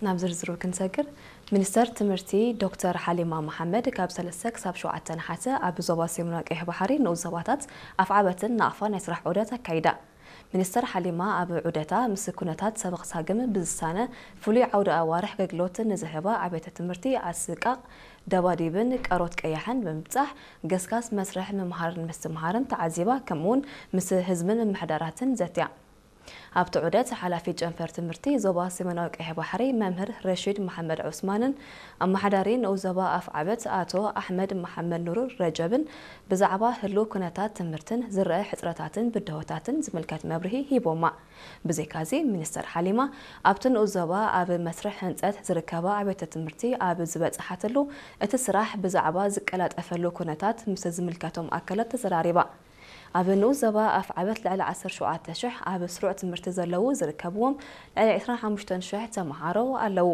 ናብ ዝርዝሩ ክንሰግር፣ ሚኒስተር ትምህርቲ ዶክተር ሓሊማ መሓመድ ካብ ሰለስተ ክሳብ ሸውዓተ ነሓሰ ኣብ ዞባ ሰሜናዊ ቀይሕ ባሕሪ ንኡስ ዞባታት ኣፍዓበትን ናቕፋ ናይ ስራሕ ዑደት ኣካይዳ። ሚኒስተር ሓሊማ ኣብ ዑደታ ምስ ኩነታት ሰበኽ ሳግም ብዝሳነ ፍሉይ ዓውደ ኣዋርሕ ኣገልግሎት ንዝህባ ኣብያተ ትምህርቲ ዓስቃቕ ደባዲብን ቀሮት ቀያሕን ብምብጻሕ ገስጋስ መስርሕ ምምሃርን ምስትምሃርን ተዓዚባ፣ ከምኡውን ምስ ህዝብን ምምሕዳራትን ዘትያ። ኣብቲ ዑደት ሓላፊ ጨንፈር ትምህርቲ ዞባ ሰሜናዊ ቀይሕ ባሕሪ መምህር ረሺድ መሓመድ ዑስማንን ኣመሓዳሪ ንኡስ ዞባ ኣፍዓበት ኣቶ ኣሕመድ መሓመድ ኑር ረጀብን ብዛዕባ ህሉው ኩነታት ትምህርትን ዝረአ ሕጽረታትን ብድሆታትን ዝምልከት መብርሂ ሂቦማ። ብዘይካዚ ሚኒስተር ሓሊማ ኣብቲ ንኡስ ዞባ ኣብ መስርሕ ህንጸት ዝርከባ ኣብያተ ትምህርቲ ኣብ ዝበጽሓትሉ እቲ ስራሕ ብዛዕባ ዝቀላጠፈሉ ኩነታት ምስ ዝምልከቶም ኣካላት ተዘራሪባ። ኣብ ንኡስ ዞባ ኣፍዓበት ልዕሊ ዓሰርተ ሸውዓተ ሽሕ ኣብ ስሩዕ ትምህርቲ ዘለዉ ዝርከብዎም ልዕሊ ዕስራን ሓሙሽተን ሽሕ ተመሃሮ ኣለዉ።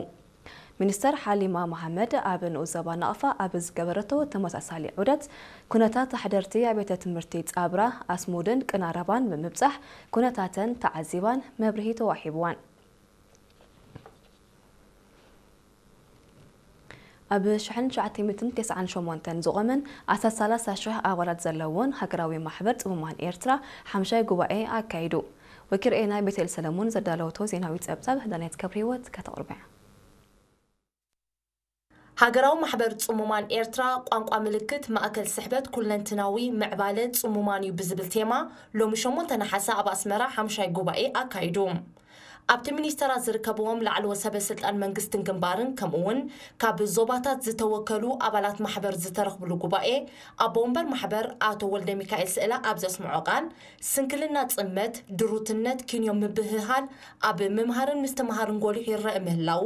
ሚኒስተር ሓሊማ መሓመድ ኣብ ንኡስ ዞባ ናቕፋ ኣብ ዝገበረቶ ተመሳሳሊ ዑደት ኩነታት ኣሕደርቲ ኣብያተ ትምህርቲ ጻብራ ኣስሙድን ቅናረባን ብምብጻሕ ኩነታተን ተዓዚባን መብርሂ ተዋሂብዋን። ኣብ ሽሕን ትሽዓተ ሚእትን ተስዓን ሸሞንተን ዝቖመን ኣስታት ሰላሳ ሽሕ ኣባላት ዘለዎን ሃገራዊ ማሕበር ጽሙማን ኤርትራ ሓምሻይ ጉባኤ ኣካይዱ። ወኪል ርኤና ቤተል ሰለሙን ዘዳለወቶ ዜናዊ ጸብጻብ ዳናይት ገብረህይወት ከተቕርብያ። ሃገራዊ ማሕበር ጽሙማን ኤርትራ ቋንቋ ምልክት ማእከል ስሕበት ኩለንትናዊ ምዕባለ ጽሙማን እዩ ብዝብል ቴማ ሎሚ ሸሞንተ ነሓሰ ኣብ ኣስመራ ሓምሻይ ጉባኤ ኣካይዱ። ኣብቲ ሚኒስተራት ዝርከብዎም ላዕለዎት ሰበ ስልጣን መንግስትን ግንባርን ከምኡ እውን ካብ ዞባታት ዝተወከሉ ኣባላት ማሕበር ዝተረኽብሉ ጉባኤ ኣቦ ወንበር ማሕበር ኣቶ ወልደ ሚካኤል ስእላ ኣብ ዘስምዖ ቃል ስንክልና ጽመት፣ ድሩትነት፣ ኪንዮ ምብህሃል ኣብ ምምሃርን ምስትምሃርን ጎሊሑ ይረአ ምህላዉ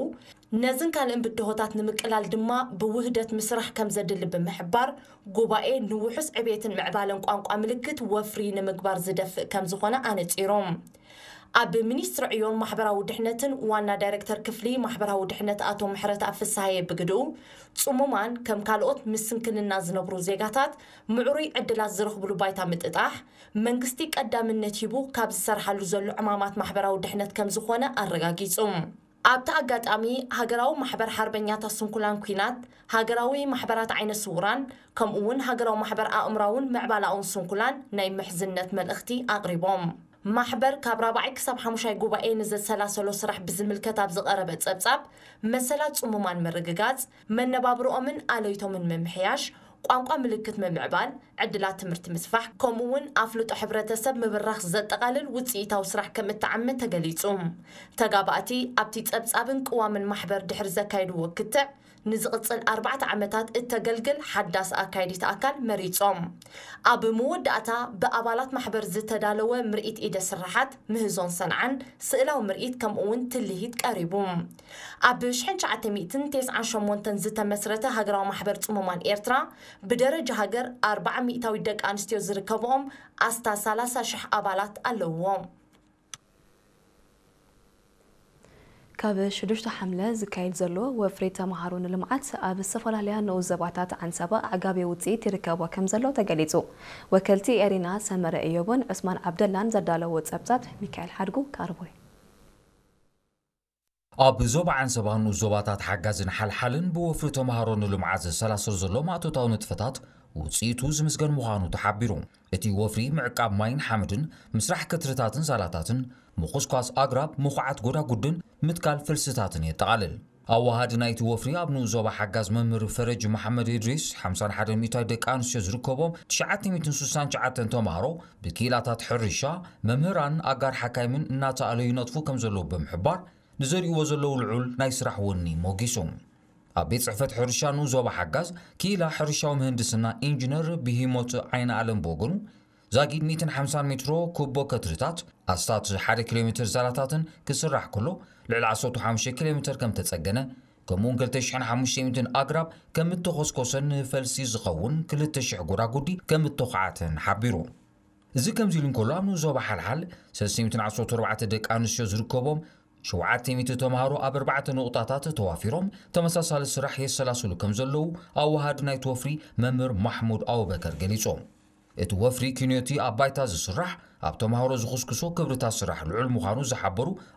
ነዝን ካልእን ብድሆታት ንምቅላል ድማ ብውህደት ምስራሕ ከም ዘድሊ ብምሕባር፣ ጉባኤ ንውሑስ ዕቤትን ምዕባለን ቋንቋ ምልክት ወፍሪ ንምግባር ዝደፍእ ከም ዝኾነ ኣነጺሮም። ኣብ ሚኒስትሪ ዕዮን ማሕበራዊ ድሕነትን ዋና ዳይሬክተር ክፍሊ ማሕበራዊ ድሕነት ኣቶ ምሕረትኣብ ፍስሃየ ብግድኡ፣ ጽሙማን ከም ካልኦት ምስ ስንክልና ዝነብሩ ዜጋታት ምዕሩይ ዕድላት ዝረኽብሉ ባይታ ምጥጣሕ፣ መንግስቲ ቀዳምነት ሂቡ ካብ ዝሰርሓሉ ዘሎ ዕማማት ማሕበራዊ ድሕነት ከም ዝኾነ ኣረጋጊጹ። ኣብቲ ኣጋጣሚ፣ ሃገራዊ ማሕበር ሓርበኛታት ስንኩላን ኲናት፣ ሃገራዊ ማሕበራት ዓይነ ስውራን፣ ከምኡ እውን ሃገራዊ ማሕበር ኣእምራውን ምዕባላውን ስንኩላን ናይ ምሕዝነት መልእኽቲ ኣቕሪቦም። ማሕበር ካብ ራብዓይ ክሳብ ሓሙሻይ ጉባኤ ንዘሰላሰሎ ስራሕ ብዝምልከት ኣብ ዝቐረበ ጸብጻብ፣ መሰላት ጽሙማን ምርግጋጽ፣ መነባብርኦምን ኣለይቶምን ምምሕያሽ፣ ቋንቋ ምልክት ምምዕባል፣ ዕድላት ትምህርቲ ምስፋሕ፣ ከምኡ እውን ኣፍልጦ ሕብረተሰብ ምብራኽ ዘጠቓልል ውፅኢታዊ ስራሕ ከም እተዓመ ተገሊፁ። ተጋባእቲ ኣብቲ ፀብፃብን ቅዋምን ማሕበር ድሕሪ ዘካየድዎ ክትዕ፣ ንዝቕፅል ኣርባዕተ ዓመታት እተገልግል ሓዳስ ኣካየዲት ኣካል መሪፆም። ኣብ መወዳእታ ብኣባላት ማሕበር ዝተዳለወ ምርኢት ኢደ ስርሓት ምህዞን ሰንዓን ስእላዊ ምርኢት ከምኡ እውን ትልሂት ቀሪቡ። ኣብ ሽሕን ትሽዓተ ሚእትን ተስዓን ሸሞንተን ዝተመስረተ ሃገራዊ ማሕበር ጽሙማን ኤርትራ ብደረጃ ሃገር ኣርብዓ ሚእታዊት ደቂ ኣንስትዮ ዝርከብኦም ኣስታት ሰላሳ ሽሕ ኣባላት ኣለውዎ። ካብ ሽዱሽተ ሓምለ ዝካየድ ዘሎ ወፍሪ ተምሃሮ ንልምዓት ኣብ ዝተፈላለያ ንኡስ ዘባታት ዓንሰባ ኣዕጋቢ ውፅኢት ይርከቦ ከም ዘሎ ተገሊፁ። ወከልቲ ኤሪና ሰመረ እዮብን ዑስማን ዓብደላን ዘዳለዎ ፀብፃብ ሚካኤል ሓድጉ ካርቦይ። ኣብ ዞባ ዓንሰባ ንኡስ ዞባታት ሓጋዝን ሓልሓልን ብወፍሪ ተምሃሮ ንልምዓት ዘሰላሰል ዘሎ ማእቶታዊ ንጥፈታት ውፅኢቱ ዝምስገን ምዃኑ ተሓቢሩ። እቲ ወፍሪ ምዕቃብ ማይን ሓመድን፣ ምስራሕ ከትርታትን ሳላታትን፣ ምኹስኳስ ኣግራብ፣ ምኹዓት ጎዳጉድን ምትካል ፈልስታትን የጠቓልል። ኣዋሃዲ ናይቲ ወፍሪ ኣብ ንኡስ ዞባ ሓጋዝ መምህር ፈረጅ መሓመድ ኢድሪስ፣ ሓምሳን ሓደን ሚእታዊት ደቂ ኣንስትዮ ዝርከቦም ትሽዓተ ሚእትን ስሳን ትሽዓተን ተምሃሮ ብክኢላታት ሕርሻ፣ መምህራን፣ ኣጋር ሓካይምን እናተኣለዩ ይነጥፉ ከም ዘለዉ ብምሕባር፣ ንዘርእይዎ ዘለዉ ልዑል ናይ ስራሕ ወኒ ሞጊሱ። ኣብ ቤት ጽሕፈት ሕርሻ ንኡስ ዞባ ሓጋዝ ክኢላ ሕርሻዊ ምህንድስና ኢንጂነር ብሂሞት ዓይነ ኣለም ብወገኑ፣ ዛጊድ ሚእትን ሓምሳን ሜትሮ ኩቦ ከትርታት፣ ኣስታት ሓደ ኪሎ ሜትር ዛላታትን ክስራሕ ከሎ፣ ልዕሊ ዓሰርተ ሓሙሽተ ኪሎ ሜትር ከም ተጸገነ፣ ከምኡውን ክልተ ሽሕን ሓሙሽተ ሚእትን ኣግራብ ከም እተኾስኮሰን ንፈልሲ ዝኸውን ክልተ ሽሕ ጎዳጉዲ ከም እተኹዓተን ሓቢሩ። እዚ ከምዚ ኢሉ እንከሎ፣ ኣብ ንኡስ ዞባ ሓልሓል ሰለስተ ሚእትን ዓሰርተ ኣርባዕተ ደቂ ኣንስትዮ ዝርከቦም ሸውዓተ ሚእቲ ተምሃሮ ኣብ ኣርባዕተ ንቑጣታት ተዋፊሮም ተመሳሳሊ ስራሕ የሰላስሉ ከም ዘለዉ ኣወሃዲ ናይቲ ወፍሪ መምህር ማሕሙድ ኣቡበከር ገሊጾም። እቲ ወፍሪ ኪንዮቲ ኣብ ባይታ ዝስራሕ ኣብ ተምሃሮ ዝኹስኩሶ ክብርታት ስራሕ ልዑል ምዃኑ ዝሓበሩ